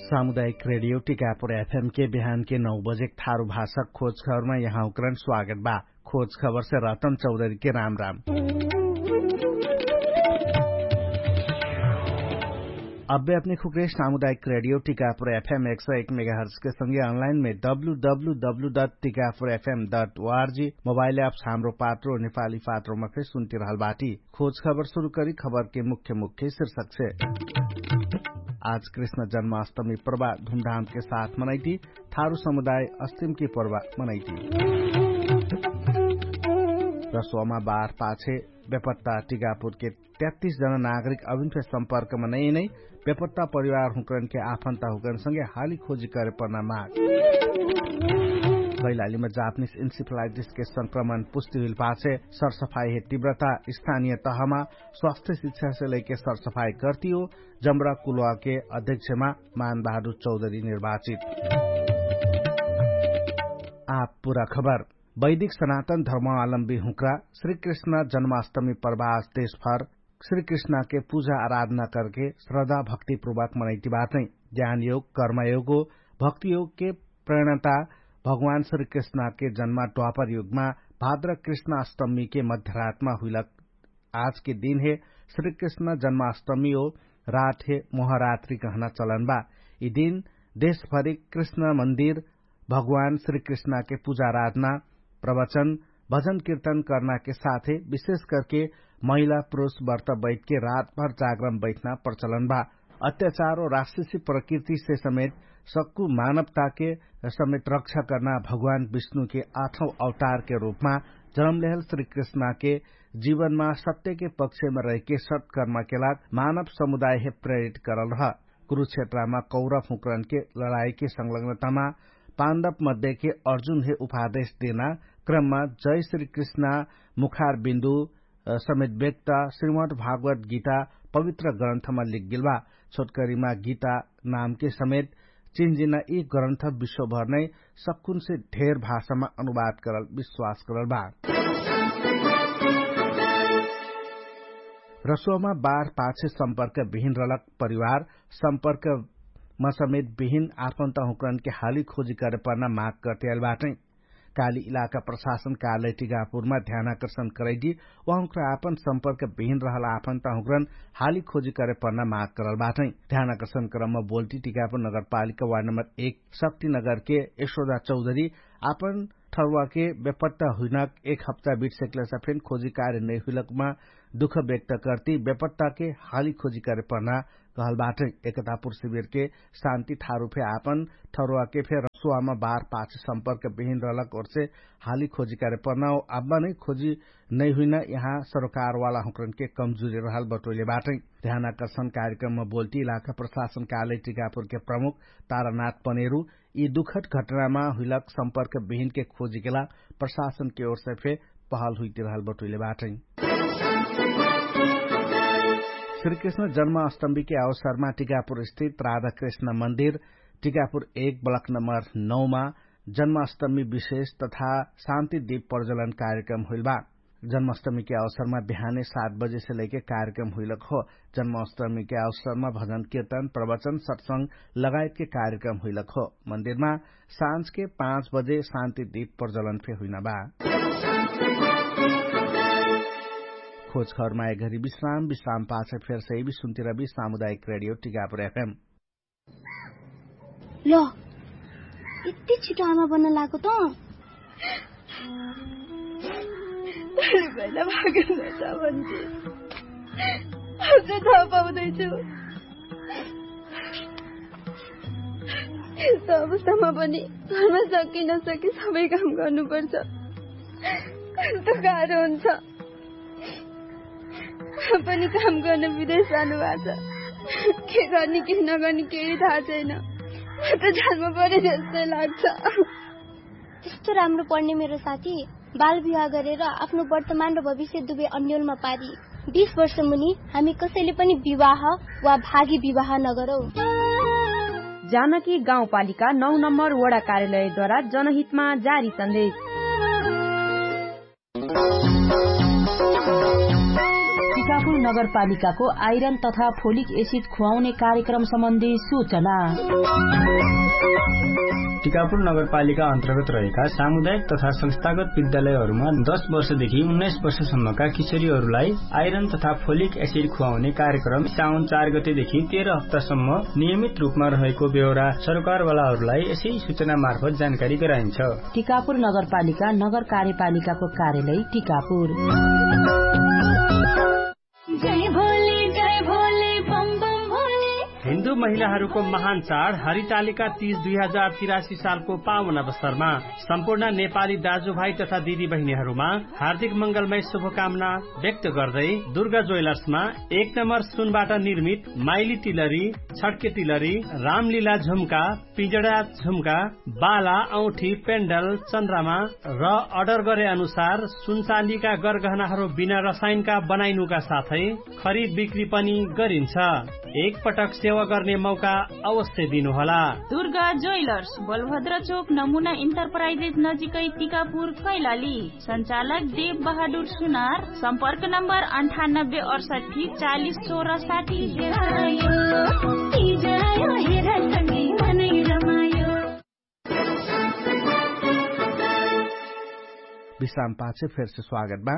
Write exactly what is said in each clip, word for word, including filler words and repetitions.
सामुदायिक रेडियो टिकापुर एफएम के बिहान के नौ बजे थारु भाषा खोज खबरमा यहाँउकरण स्वागत बा। खोज खबर से रतन चौधरी के राम राम। अब्बे अपने खुक्रे सामुदायिक रेडियो टिकापुर एफएम एक सौ एक मेगाहर्ज के संगे अनलाइन में W W W dot Tikapur FM dot ORG mobile apps हाम्रो पात्रो नेपाली पात्रोमा फेर सुन्ति रहल बाटी। खोज खबर सुरु करी खबर के मुख्य मुख्य शीर्षक से। आज कृष्ण जन्माष्टमी प्रभा धुमधाम के साथ मनैती। थारु समुदाय अस्तिम के प्रभा मनैती। रसोमा बार पाछे बेपत्ता टिकापुर के तेत्तिस जना नागरिक अभिन फेर सम्पर्कमा नैनै बेपत्ता परिवार हुँकरन के आफन्ता हुँकरन संगे हाली खोजी करे पर्ना माग। कैलालीमा जापनिस इन्सिफलाइटिस के संक्रमण पुष्टि हुइल पाछे सरसफाई हे तीव्रता स्थानीय तहमा स्वास्थ्य शिक्षा से लैके सरसफाई कर्तियो जम्रा कुलवा के अध्यक्षमा मानबहादुर चौधरी निर्वाचित। आप पुरा खबर। वैदिक सनातन धर्मावलम्बी हुँक्रा श्रीकृष्ण जन्माष्टमी प्रभास देशभर श्रीकृष्णके पुजा आराधना करके श्रद्धा भक्तिपूर्वक मनैतिबाटै। ज्ञानयोग कर्मयोगो भक्तियोगके प्रेरणाता भगवान श्रीकृष्णके जन्मा द्वापरयोगमा भाद्र कृष्णाष्टमीके मध्यरातमा हुइलक। आजके दिनहे श्रीकृष्ण जन्माष्टमी ओ रातहे मोहरात्री कहना चलनबा। यि दिन देशभरि कृष्ण मन्दिर भगवान श्रीकृष्णके पुजा आराधना प्रवचन भजन किर्तन कर्नाके साथे विशेष करके महिला पुरुष वर्त बैठके रातभर जागरम बैठना प्रचलनबा। अत्याचार ओ राक्षसी प्रकृतिसे समेत सक्कु मानवताके समेत रक्षा कर्ना भगवान विष्णुके आठौ अवतारके रूपमा जन्मलेहल श्रीकृष्णके जीवनमा सत्यके पक्षमा रहिके सत्कर्मके लाग मानव समुदायहे प्रेरित करल रह। कुरुक्षेत्रमा कौरव हुँकरनके लडाइके संलग्नतामा पाण्डव मध्येके अर्जुनहे उपादेश देना क्रममा जय श्रीकृष्णा मुखार बिन्दु समेत व्यक्त श्रीमद् भागवत गीता पवित्र ग्रन्थमा लिखगेल बा। छोटकरीमा गीता नामके समेत चिन्जिना यि ग्रन्थ विश्वभर नै सक्कुनसे ढेर भाषामा अनुवाद करल विश्वास करल बा। रसोमा बार पाछे सम्पर्क बिहिन रलक परिवार सम्पर्क मसमेत बिहिन आफन्ता हुँकरनके हाली खोजी करे पर्ना माग कर्तियाल बाटै। काली इलाका प्रशासन कार्यालय टिकापुरमा ध्यानाकर्षण करैटी उहाँक्रा आपन सम्पर्क बिहिन रहल आफन्ता हुँक्रन हाली खोजी करे पर्ना माग करल बाटै। ध्यानाकर्षण क्रममा बोल्टी टिकापुर नगरपालिका वार्ड नम्बर एक शक्तिनगरके यशोदा चौधरी आपन ठरुवाके बेपत्ता हुइनाक एक हप्ता बिट सेक्लेसा फेन खोजी कार्य नैहुइलकमा दुख व्यक्त कर्ती बेपत्ताके हाली खोजी करे पर्ना कहल बाटै। एकतापुर शिविरके शान्ति थारु फे आपन ठरुवाके फे रसुवामा बार पाछ सम्पर्क बिहिन रहलक ओर्से हाली खोजी करे पर्ना ओ आब्बा नै खोजी नैहुइना यहाँ सरोकारवाला हुँक्रनके कमजुरी रहल बटोइले बाटै। ध्यानाकर्षण कार्यक्रममा बोल्टी इलाका प्रशासन कार्यालय टिकापुरके प्रमुख तारानाथ पनेरु यि दुखद घटनामा हुइलक सम्पर्क बिहिनके खोजीकेला प्रशासनके ओर्से फे पहल हुइतिरहल बटुइले बाटै। श्रीकृष्ण जन्माष्टमीके अवसरमा टिकापुर स्थित राधाकृष्ण मन्दिर टिकापुर एक ब्लक नम्बर नौमा जन्माष्टमी विशेष तथा शान्ति दीप प्रज्वलन कार्यक्रम हुइल बा। जन्माष्टमीके अवसरमा बिहाने सात बजेसे लैके कार्यक्रम हुइलक हो। जन्माष्टमीके अवसरमा भजन किर्तन प्रवचन सत्संग लगायतके कार्यक्रम हुइलक हो। मन्दिरमा साँझके पाँच बजे शान्ति दीप प्रज्वलन फे हुइना बा। खोज खबरमा एघरी विश्राम विश्राम पाछे फेर सही विश्राम तिरबी सामुदायिक रेडियो टिकापुर एफएम। ल यति छिटो आमा बन्न लागो त। पहिला भागेन त भन्थे। अझ थाहा पाउँदैछु। यस्तो अवस्थामा पनि घरमा सके नसके सबै काम गर्नुपर्छ। कस्तो गाह्रो हुन्छ। पनि काम गर्न विदेश जानुभएको छ। के गर्ने के नगर्ने केही थाहा छैन। म त जानमा परे जस्तै लाग्छ। त्यस्तो राम्रो पढ्ने मेरो साथी बाल विवाह गरेर आफ्नो वर्तमान र भविष्य दुवै अन्यलमा पारी बिस वर्ष मुनि हामी कसैले पनि विवाह वा भागी विवाह नगरौँ। जानकी गाउँपालिका नौ नम्बर वडा कार्यालयद्वारा जनहितमा जारी सन्देश। टिकापुर नगरपालिकाको आइरन तथा फोलिक एसिड खुवाउने कार्यक्रम सम्बन्धी सूचना। टिकापुर नगरपालिका अन्तर्गत रहेका सामुदायिक तथा संस्थागत विद्यालयहरूमा दस वर्षदेखि उन्नाइस वर्षसम्मका किशोरीहरूलाई आइरन तथा फोलिक एसिड खुवाउने कार्यक्रम साउन चार गतेदेखि तेह्र हप्तासम्म नियमित रूपमा रहेको बेहोरा सरकारवालाहरूलाई यसै सूचना मार्फत जानकारी गराइन्छ। टिकापुर नगरपालिका नगर कार्यपालिकाको कार्यालय टिकापुर। हिन्दू महिलाहरूको महान चाड हरितालिका तीज दुई हजार तिरासी सालको पावन अवसरमा सम्पूर्ण नेपाली दाजुभाइ तथा दिदीबहिनीहरूमा हार्दिक मङ्गलमय शुभकामना व्यक्त गर्दै दुर्गा ज्वेलर्समा एक नम्बर सुनबाट निर्मित माइली तिलरी, छड्के तिलरी, रामलीला झुम्का, पिजडा झुम्का, बाला औठी पेन्डल चन्द्रमा र अर्डर गरे अनुसार सुनचाँदीका गरगहनाहरू बिना रसायनका बनाइनुका साथै खरिद बिक्री पनि गरिन्छ। एक पटक सेवा गर्ने मौका अवश्य दिनुहोला। दुर्गा ज्वेलर्स, बलभद्र चोक, नमुना इन्टरप्राइजेस नजिकै, टिकापुर, कैलाली। सञ्चालक देव बहादुर सुनार। सम्पर्क नम्बर अन्ठानब्बे अडसट्ठी चालिस सोह्र साठी। विश्राम पाछे फेरसे स्वागत बा।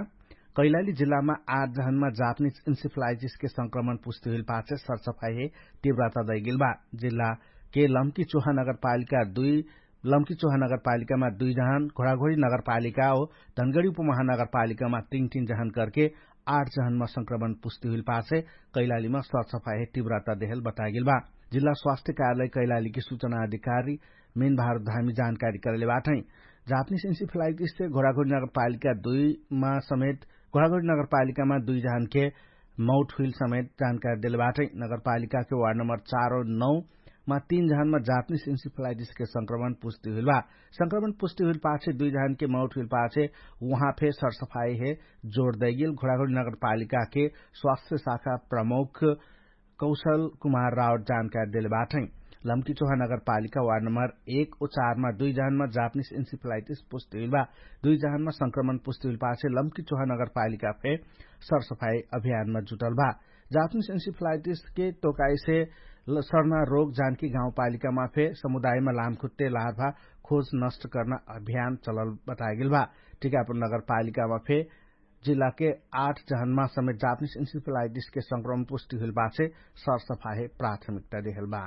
कैलाली जिल्लामा आठ जहनमा जापनिज इन्सिफलाइटिसके संक्रमण पुष्टि हुइल पाछे सरसफाइ हे तीव्रता दैगेल बा। जिल्लाके लम्की चोहा नगरपालिका दुई लम्की चोहा नगरपालिकामा दुई जहन, घोडाघोडी नगरपालिका ओ धनगडी उपमहानगरपालिकामा तीन तीन जहन करके आठ जहनमा संक्रमण पुष्टि हुइल पाछे कैलालीमा सरसफाइ हे तीव्रता देहल बतागेल बा। जिल्ला स्वास्थ्य कार्यालय कैलालीके सूचना अधिकारी मेन भारत धामी जानकारी करले बाटै। जापनिज इन्सिफलाइटिससे घोडाघोडी नगरपालिका दुईमा समेत घोडाघोडी नगरपालिकामा दुई जहनके मौत हुइल समेत जानकारी देले बाटै। नगरपालिकाके वार्ड नम्बर चार औ नौ मा तीन जहनमा जापनिज इन्सिफलाइटिसके संक्रमण पुष्टि हुइल बा। संक्रमण पुष्टि हुइल पाछे दुई जहनके मौत हुइल पाछे उहाँ फे सरसफाइ हे जोर दैगेल घोडाघोडी नगरपालिकाके स्वास्थ्य शाखा प्रमुख कौशल कुमार रावत जानकारी देले बाटै। लम्की चोहा नगरपालिका वार्ड नम्बर एक ओ चारमा दुई जहनमा जापनिज इन्सिफलाइटिस पुष्टि हुइल बा। दुई जहनमा संक्रमण पुष्टि हुइल पाछे लम्की चोहा नगरपालिका फे सरसफाइ अभियानमा जुटल बा। जापनिज इन्सिफलाइटिसके तोकाइसे सरना रोग जानकी गाउँपालिकामा फे समुदायमा लामखुट्टे लार्भा खोज नष्ट कर्ना अभियान चलल बतागेल बा। टिकापुर नगरपालिकामा फे जिल्लाके आठ जहनमा समेत जापनिज इन्सिफलाइटिसके संक्रमण पुष्टि हुइल पाछे सरसफाइ प्राथमिकता देहल बा।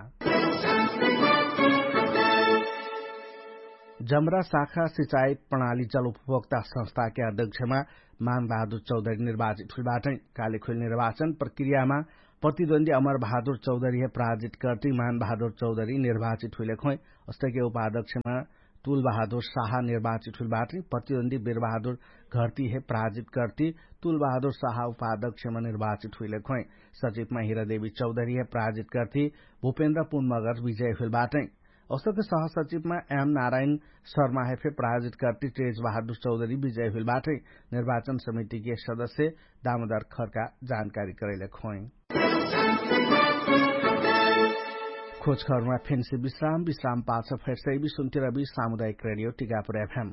जमरा शाखा सिचाइ प्रणाली जल उपभोक्ता संस्थाके अध्यक्षमा मान बहादुर चौधरी निर्वाचित हुइल बाटै। काले खुइल निर्वाचन प्रक्रियामा प्रतिद्वन्दी अमर बहादुर चौधरी हे पराजित कर्ति मान बहादुर चौधरी निर्वाचित हुइले खोइ। अस्तैके उपाध्यक्षमा तुल बहादुर साहा निर्वाचित हुइल बाटै। प्रतिद्वन्दी बिर बहादुर घर्ति हे पराजित कर्ति तुल बहादुर साहा उपाध्यक्षमा निर्वाचित हुइले खोइ। सचिवमा हिरादेवी चौधरी हे पराजित कर्ति भुपेन्द्र पुन मगर विजय हुइल बाटै। अस्तके सहसचिवमा एम नारायण शर्मा हे फे पराजित कर्ति तेज बहादुर चौधरी विजय हुइल बाटै। निर्वाचन समितिके सदस्य दामोदर खर्का जानकारी करैले खोइ। खोजखबरमा फेन्से विश्राम विश्राम पाछ फेर्सै विश्वन्तिरबी सामुदायिक रेडियो टिकापुर एफएम।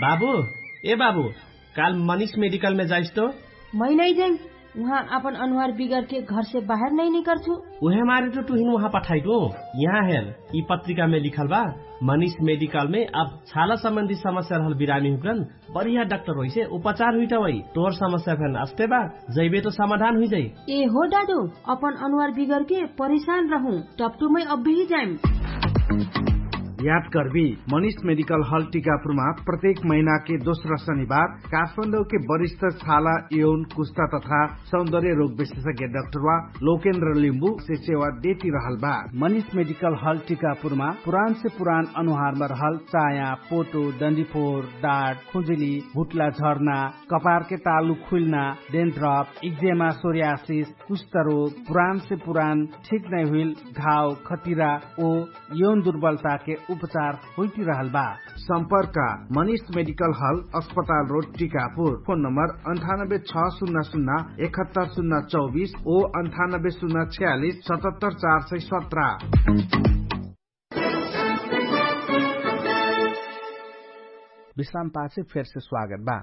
बाबु, ए बाबु, काल मनिष मेडिकलमे जाइस्तो? मै नै जाइम। उहाँ आपन अनुहार बिगरके घरसे बाहेर नै निकर्छु। उहेमारे त तुहिन उहाँ पठाइटु। यहाँ हेर, यि पत्रिकामे लिखल बा, मनिष मेडिकलमे अब छाला सम्बन्धी समस्या रहल बिरामी हुकरन बढिया डाक्टर होइसे उपचार हुइटा होइ। तोर समस्या फेन अस्ते बा, जैबे त समाधान हुइजाइ। ए हो दादु, अपन अनुहार बिगरके परेशान रहु। टप्टुमै अब्बेही जाइम। याद कर्बी, मनिष मेडिकल हल टिकापुरमा प्रत्येक महिनाके दोस्रा शनिबार काठमाडौके वरिष्ठ छाला यौन कुस्ता तथा सौन्दर्य रोग विशेषज्ञ डाक्टर वा लोकेन्द्र लिम्बु से सेवा देति रहल बा। मनिष मेडिकल हल टिकापुरमा पुरान से पुरान अनुहारमा रहल चाया, पोटो, डन्डिफोर, डाट, खुजुली, भुटला झर्ना, कपारके तालु खुइल्ना, डेन्ड्रप, इक्जेमा, सोर्यासिस, कुष्ठरोग, पुरान से पुरान ठीक नै हुइल घाव, खतिरा ओ यौन दुर्बलताके उपचार होइति रहल बा। सम्पर्क मनिष मेडिकल हल, अस्पताल रोड, टिकापुर। फोन नम्बर अन्ठानब्बे छ सुन्ना सुन्ना एकहत्तर सुन्ना चौबिस ओ अन्ठानब्बे सुन्ना छ्यालिस सतहत्तर चार सय सत्र। विश्राम पाछे फेरसे स्वागत बा।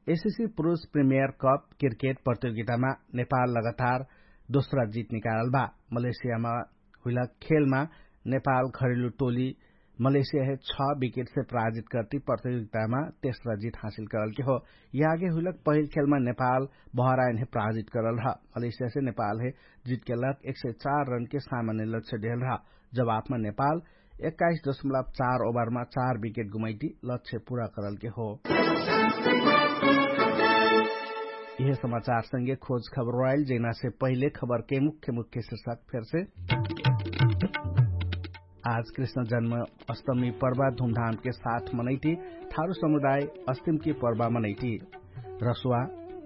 एसएससी पुरुष प्रिमियर कप क्रिकेट प्रतियोगितामा नेपाल लगातार दोस्रा जित निकालल बा। मलेसियामा हुइला खेलमा नेपाल घरेलु टोली मलेसिया हे छ विकेट से पराजित करती प्रतियोगितामा तेस्रा जित हासिल करल के हो। यागे हुइलक पहिल खेलमा नेपाल बहराइन हे पराजित करल रह। मलेसिया से नेपाल हे जित के लक एक सय चार रन के सामान्य लक्ष्य देहल रह। जवाफमा नेपाल एक्काइस दशमलब चार ओभरमा चार विकेट गुमैटी लक्ष्य पुरा करल के हो। यह समाचार संगे खोज खबर रोयल जैना से पहिले खबर के मुख्य मुख्य शीर्षक फेर से। आज कृष्ण जन्म अष्टमी पर्वा धुमधाम के साथ मनैती। थारु समुदाय अष्टमी के पर्वा मनैती। रसुवा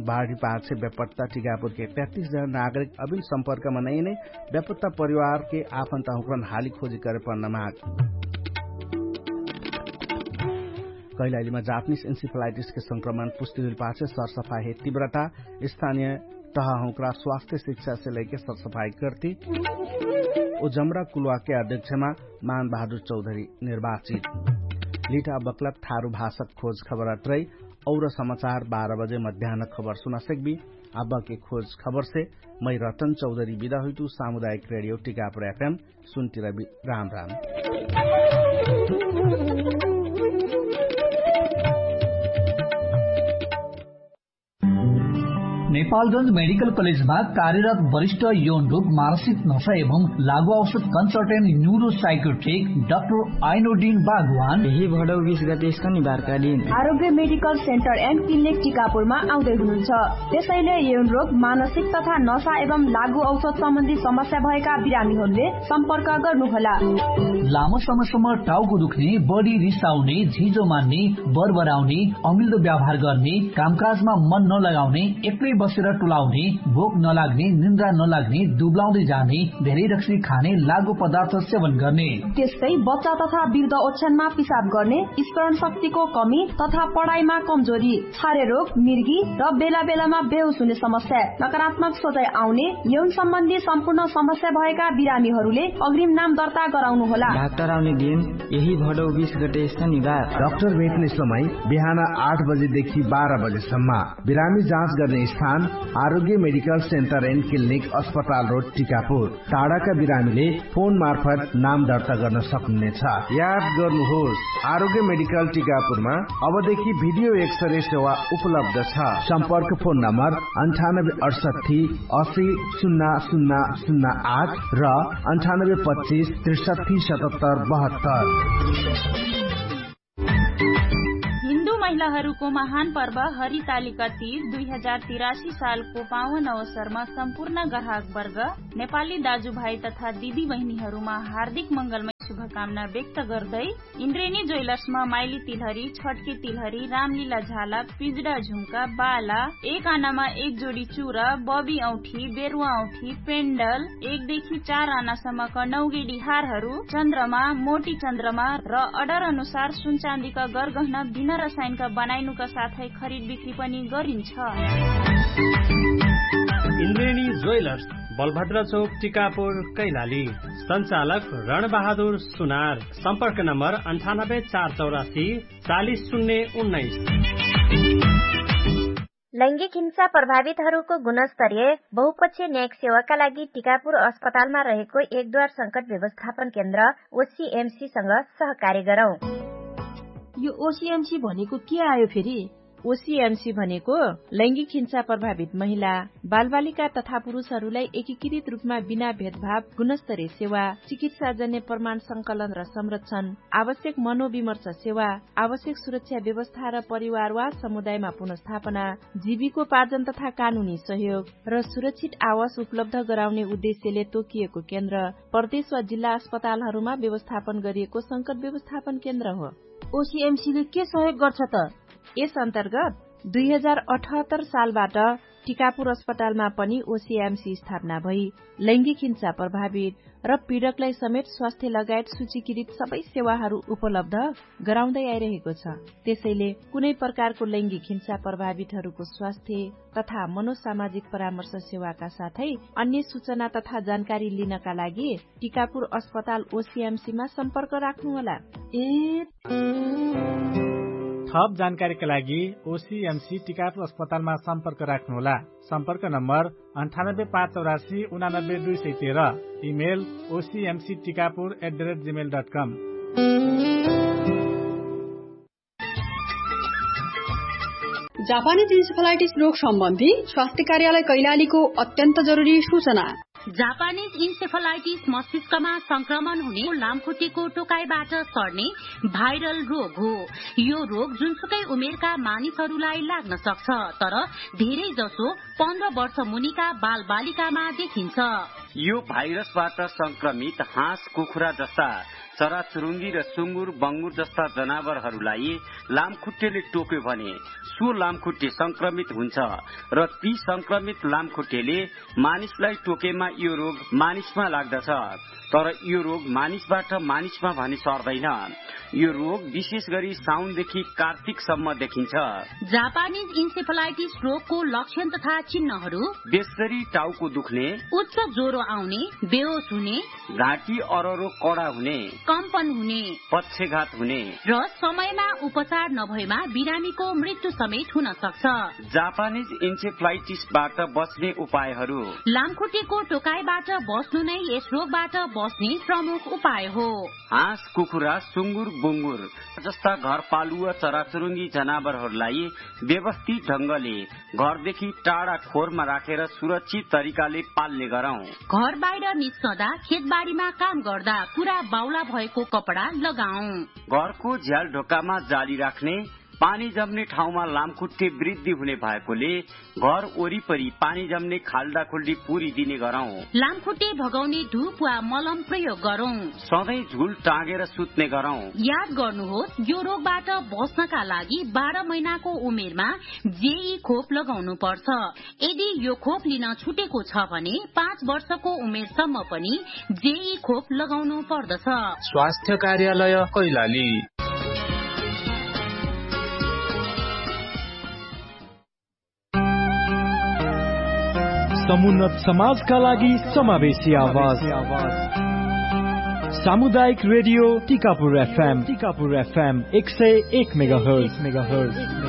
बाढी पाँच से व्यापकता टिकापुर के पैंतीस जना नागरिक अभिन सम्पर्क मनैने व्यापकता परिवार के आफन्ता हुक्रन हाली खोजी करे पर्न माग। कैलालीमा जापनिस इन्सिफलाइटिस के संक्रमण पुष्टि हुइल पाछे सरसफाई हे तीव्रता। स्थानीय तह हुक्रा स्वास्थ्य शिक्षा से लैके सरसफाई करती। ओ जमरा कुलवा के अध्यक्षमा मान बहादुर चौधरी निर्वाचित। लिठा बक्लक थारु भाषक खोज खबर अत्रै। और समाचार बाह्र बजे मध्यान खबर सुना सकबी। आबा के खोज खबर से मै रतन चौधरी बिदा हुइतु। सामुदायिक रेडियो टिकापुर एफएम सुन्ति रबि। राम राम। नेपालगंज मेडिकल कलेजमा कार्यरत वरिष्ठ यौन रोग मानसिक नशा एवं लागु औषध कन्सल्टेन्ट न्युरो साइकोट्रिक डाक्टर आइनोडिन बागवान यही भडौ बिस गते शनिबारका दिन आरोग्य मेडिकल सेन्टर एन्ड क्लिनिक टिकापुरमा आउँदै हुनुहुन्छ। त्यसैले यौन रोग मानसिक तथा नशा एवं लागु औषध सम्बन्धी समस्या भएका बिरामीहरूले सम्पर्क गर्नुहोला। लामो समयसम्म टाउको दुख्ने, बढी रिसाउने, झिजो मान्ने, बरबराउने, अमिल्दो व्यवहार गर्ने, कामकाजमा मन नलगाउने, एक्लै बसेर टुलाउने, भोक नलाग्ने, निन्द्रा नलाग्ने, दुब्लाउँदै जाने, धेरै रक्सी खाने, लागु पदार्थ सेवन गर्ने। त्यस्तै बच्चा तथा वृद्ध ओछ्यानमा पिसाब गर्ने, स्मरण शक्तिको कमी तथा पढाइमा कमजोरी, छारे रोग, मिर्गी र बेला बेलामा बेहोस हुने समस्या, नकारात्मक सोचाइ आउने, यौन सम्बन्धी सम्पूर्ण समस्या भएका बिरामीहरूले अग्रिम नाम दर्ता गराउनु होला। डाक्टर आउने दिन यही भडौ बिस गते शनिबार। डाक्टर भेट्ने समय बिहान आठ बजेदेखि बाह्र बजेसम्म। बिरामी जाँच गर्ने स्थान आरोग्य मेडिकल सेन्टर एन्ड क्लिनिक अस्पताल रोड टिकापुर। टाढाका बिरामीले फोन मार्फत नाम दर्ता गर्न सक्नुहुनेछ। याद गर्नुहोस्, आरोग्य मेडिकल टिकापुरमा अबदेखि भिडियो एक्सरे सेवा उपलब्ध छ। सम्पर्क फोन नम्बर अन्ठानब्बे अठसट्ठी असी सुन्ना सुन्ना सुन्ना आठ र अन्ठानब्बे पच्चिस त्रिसट्ठी सतहत्तर बहत्तर। हिन्दू महिलाहरूको महान पर्व हरितालिका तीज दुई हजार तिरासी सालको पावन अवसरमा सम्पूर्ण ग्राहक वर्ग, नेपाली दाजुभाइ तथा दिदी बहिनीहरूमा हार्दिक मङ्गलमय शुभकामना व्यक्त गर्दै इन्द्रेणी ज्वेलर्समा माइली तिलहरी, छटके तिलहरी, रामलीला झाला, पिजडा झुम्का, बाला, एक आनामा एक जोडी चुरा, बबी औठी, बेरुवा औठी, पेन्डल, एक देखि चार आनासम्मका नौगेडी हारहरू, चन्द्रमा, मोटी चन्द्रमा र अर्डर अनुसार सुनचाँदीका गरगहना बिना रसायनका बनाइनुका साथै खरिद बिक्री पनि गरिन्छ। इन्द्रेणी ज्वेलर्स, बलभद्र चौक, टिकापुर, कैलाली। सञ्चालक रणबहादुर सुनार। सम्पर्क नम्बर अन्ठानब्बे चार चौरासी चालिस शून्य उन्नाइस। लैङ्गिक हिंसा प्रभावितहरूको गुणस्तरीय बहुपक्षीय न्यायिक सेवाका लागि टिकापुर अस्पतालमा रहेको एक द्वार संकट व्यवस्थापन केन्द्र ओसिएमसीसँग सहकार्य गरौँ। यो ओसिएमसी भनेको के आयो फेरि? ओसिएमसी भनेको लैङ्गिक हिंसा प्रभावित महिला, बालबालिका तथा पुरुषहरूलाई एकीकृत रूपमा बिना भेदभाव गुणस्तरीय सेवा, चिकित्साजन्य प्रमाण संकलन र संरक्षण, आवश्यक मनोविमर्श सेवा, आवश्यक सुरक्षा व्यवस्था र परिवार वा समुदायमा पुनर्स्थापना, जीविकोपार्जन तथा कानुनी सहयोग र सुरक्षित आवास उपलब्ध गराउने उद्देश्यले तोकिएको केन्द्र प्रदेश वा जिल्ला अस्पतालहरूमा व्यवस्थापन गरिएको संकट व्यवस्थापन केन्द्र हो। ओसिएमसीले के सहयोग गर्छ त? यस अन्तर्गत दुई हजार अठहत्तर सालबाट टिकापुर अस्पतालमा पनि ओसिएमसी स्थापना भई लैङ्गिक हिंसा प्रभावित र पीडकलाई समेत स्वास्थ्य लगायत सूचीकृत सबै सेवाहरू उपलब्ध गराउँदै आइरहेको छ। त्यसैले कुनै प्रकारको लैङ्गिक हिंसा प्रभावितहरूको स्वास्थ्य तथा मनोसामाजिक परामर्श सेवाका साथै अन्य सूचना तथा जानकारी लिनका लागि टिकापुर अस्पताल ओसिएमसीमा सम्पर्क राख्नुहोला। ए थप जानकारीका लागि ओसिएमसी टिकापुर अस्पतालमा सम्पर्क राख्नुहोला। सम्पर्क नम्बर अन्ठानब्बे पाँच चौरासी उनानब्बे दुई सय तेह्र। Email OCMC Tikapur at the rate Gmail dot come. Japanese encephalitis रोग सम्बन्धी स्वास्थ्य कार्यालय कैलालीको अत्यन्त जरुरी सूचना। जापानिज इन्सेफलाइटिस मस्तिष्कमा संक्रमण हुने लामखुट्टेको टोकाइबाट सर्ने भाइरल रोग हो। यो रोग जुनसुकै उमेरका मानिसहरूलाई लाग्न सक्छ, तर धेरै जसो पन्ध्र वर्ष मुनिका बालबालिकामा देखिन्छ। यो भाइरसबाट संक्रमित हाँस, कुखुरा जस्ता चराचुरुङ्गी र सुँगुर बङ्गुर जस्ता जनावरहरूलाई लामखुट्टेले टोक्यो भने सो लामखुट्टे संक्रमित हुन्छ र ती संक्रमित लामखुट्टेले मानिसलाई टोकेमा यो रोग मानिसमा लाग्दछ। तर यो रोग मानिसबाट मानिसमा भने सर्दैन। यो रोग विशेष गरी साउनदेखि कार्तिकसम्म देखिन्छ। जापानिज इन्सेफलाइटिस रोगको लक्षण तथा चिन्हहरू बेसरी टाउको दुख्ने, उच्च ज्वरो आउने, बेहोस हुने, घाँटी अररो कडा हुने, कम्पन हुने, पक्षघात हुने र समयमा उपचार नभएमा बिरामीको मृत्यु समेत हुन सक्छ। जापानिज इन्सेफलाइटिसबाट बच्ने उपायहरू। लामखुट्टेको टोकाइबाट बस्नु नै यस रोगबाट बस्ने प्रमुख उपाय हो। हाँस, कुखुरा, सुँगुर, बुँगुर जस्ता घरपालुवा चराचुरुङ्गी जनावरहरूलाई व्यवस्थित ढङ्गले घरदेखि टाढा खोरमा राखेर सुरक्षित तरिकाले पाल्ने गरौँ। घर बाहिर निस्कँदा, खेतबारीमा काम गर्दा पुरा बाउला भएको कपडा लगाउँ। घरको झ्याल ढोकामा जाली राख्ने, पानी जम्ने ठाउँमा लामखुट्टे वृद्धि हुने भएकोले घर वरिपरि पानी जम्ने खाल्डाखुल्डी पुरिदिने गरौँ। लामखुट्टे भगाउने धुप वा मलम प्रयोग गरौँ। सधैँ झुल टाँगेर सुत्ने गरौँ। याद गर्नुहोस्, यो रोगबाट बस्नका लागि बाह्र महिनाको उमेरमा जेई खोप लगाउनु पर्छ। यदि यो खोप लिन छुटेको छ भने पाँच वर्षको उमेरसम्म पनि जेई खोप लगाउनु पर्दछ। स्वास्थ्य कार्यालय कैलाली। समुन्नत समाजका लागि समावेशी आवाज। सामुदायिक रेडियो टिकापुर एफएम, टिकापुर एफएम एक सय एक मेगाहर्ज।